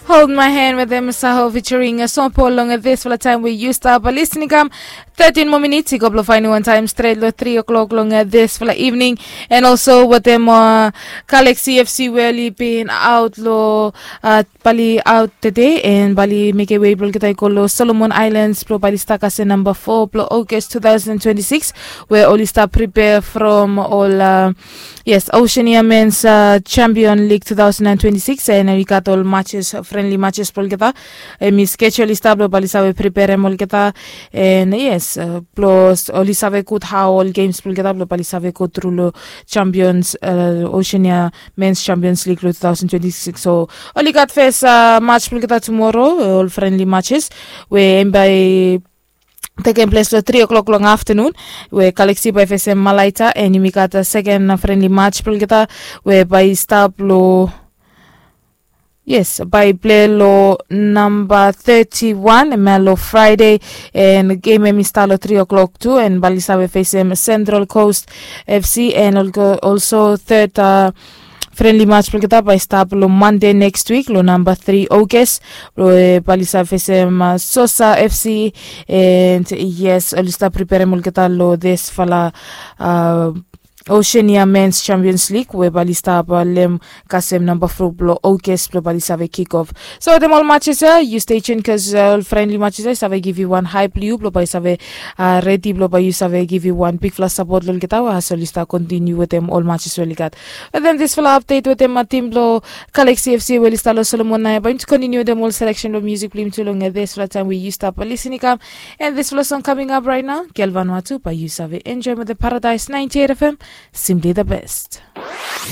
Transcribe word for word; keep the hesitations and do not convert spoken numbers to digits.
Hold My Hand wetem Saho featuring Sean Paul long disfala taem we yu stap lisin i kam. Tetin moa minits i go blong faenem wan taem stret long tri o'clock long disfala evening. And also wetem Galaxy FC we oli bin aot long bali aot tede, and bali mekem wei blong olgeta i go long Solomon Islands blong bali stap kasem namba fo blong August two thousand twenty-six, we oli stap pripea from ol Yes, Oceania Men's Champion League two thousand and twenty-six, and i gat ol matches, friendly matches blong olgeta. Hemi schedule i stap blong bali save preperem olgeta. And yes, blong oli save gud hao ol games blong olgeta blong bali save go tru long Champions, Oceania Men's Champions League long two thousand twenty-six. So oli gat fes match blong olgeta tumoro, ol friendly matches we hemi bai tekem ples long tri o'clock long aftenun, we Galaxy bai fesem Malaita, and yumi gat seken friendly match blong olgeta we bai stap long, yes, bai plei long namba thirty-one hemia long Friday. And gem hemi stap long tri o'clock tu, and bali save fesem Central Coast FC, and also third friendly match blong olgeta bai stap long Monday next week long namba three August, blong bali save fesem Sosa FC. And yes, oli stap preperem olgeta long disfala Oceania Men's Champions League we bali stap lem kasem namba fo blong August blong bali save kick off. So wetem ol matches ia, yu stay tuned, bikos ol friendly matches ia i save givim wan hae blong yu blong bai yu save redi blong bai yu save givim wan bigfala sapot long olgeta as oli stap kontiniu wetem ol matches we oli gat. Wetem disfala update wetem tim blong Galaxy FC we oli stap long Solomon, nao bai yumi kontiniu wetem ol selection blong musik blong yumi tu long disfala taem we yu stap lisin i kam. And disfala song coming up right now, Gel Vanuatu, bai yu save enjoem wetem Paradise ninety-eight FM, simply the best.